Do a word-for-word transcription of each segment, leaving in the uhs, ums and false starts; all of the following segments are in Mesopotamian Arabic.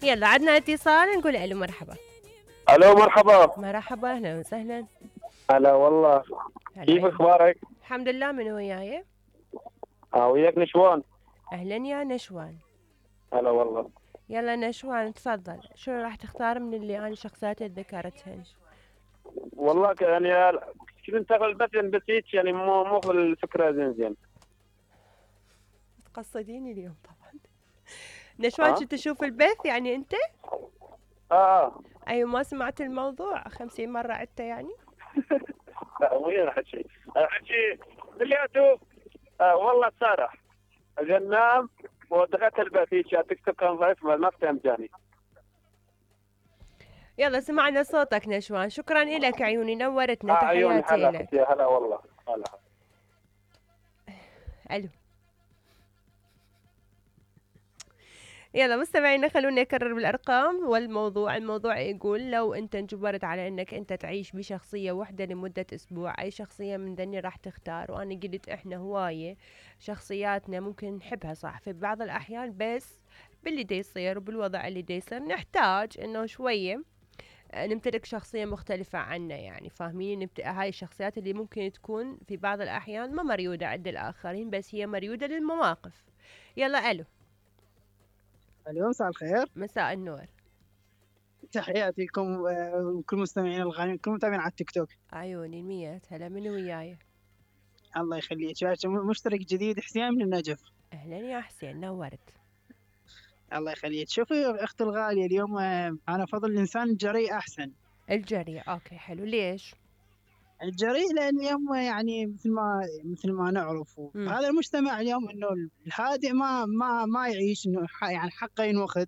يلا عدنا اتصال نقول الو مرحبا. الو مرحبا. مرحبا اهلا وسهلا. هلا والله. كيف اخبارك؟ الحمد لله. من وياي؟ اه وياك نشوان. اهلا يا نشوان. هلا والله. يلا نشوان تفضل، شنو راح تختار من اللي انا شخصيات ذكرتهن؟ والله يعني كنت انتقل بس بس هيك يعني مو مو الفكره زين زين. تقصديني اليوم طبعا. نشوان شو تشوف البث يعني انت؟ اه ايوه ما سمعت الموضوع خمسين مرة عدته يعني؟ لا وين حكي؟ حكي كلياته آه والله سارح اجل نام ودخلت البث هيك تكتب كان ضعيف ما فهمت يعني. يلا سمعنا صوتك نشوان، شكرا لك عيوني نورتنا. آه تحياتي عيوني هلا لك. يا هلا والله هلا. الو. يلا مستمعينا خلونا نكرر بالارقام والموضوع. الموضوع يقول لو انت انجبرت على انك انت تعيش بشخصيه واحده لمده اسبوع، اي شخصيه من ذني راح تختار؟ وانا قلت احنا هوايه شخصياتنا ممكن نحبها صح في بعض الاحيان، بس باللي دي يصير وبالوضع اللي دي يصير نحتاج انه شويه نمتلك شخصية مختلفة عنا، يعني فاهمين؟ نمت... هاي الشخصيات اللي ممكن تكون في بعض الأحيان ما مريودة عند الآخرين بس هي مريودة للمواقف. يلا ألو. الو مساء الخير. مساء النور. تحياتي لكم وكل مستمعين الغاليين، كل متابعين على التيك توك. عيوني المية. هلا من وياي؟ الله يخليك. مشترك جديد حسين من النجف. اهلا يا حسين نورت. الله يخليك. شوفي اختي الغاليه اليوم انا افضل الانسان الجريء احسن. الجريء اوكي حلو. ليش؟ الجريء لان اليوم يعني مثل ما مثل ما نعرف هذا المجتمع اليوم انه الهادئ ما ما ما يعيش انه يعني حقه ينوخذ،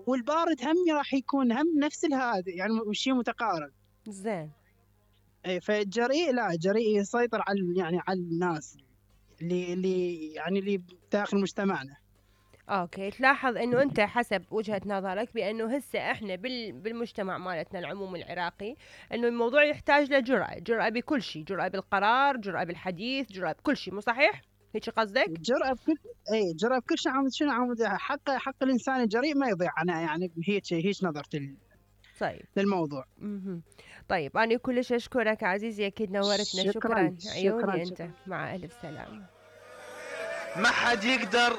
والبارد هم راح يكون هم نفس الهادئ يعني شيء متقارب. زين. اي فالجريء لا جريء يسيطر على يعني على الناس اللي اللي يعني اللي داخل مجتمعنا. اوكي تلاحظ انه انت حسب وجهة نظرك بانه هسه احنا بال بالمجتمع مالتنا العموم العراقي انه الموضوع يحتاج لجرأة، جرأة بكل شيء، جرأة بالقرار، جرأة بالحديث، جرأة بكل شيء، مو صحيح؟ هيك قصدك؟ جرأة بكل اي جرأة بكل شيء. عمود شنو عمود حق حق الانسان الجريء ما يضيع. انا يعني هيك هيك نظرتي طيب للموضوع. امم طيب انا كلش اشكرك عزيزي، اكيد نورتنا. شكرا, شكرا. عيوني شكرا. انت. مع الف سلامة. ما حد يقدر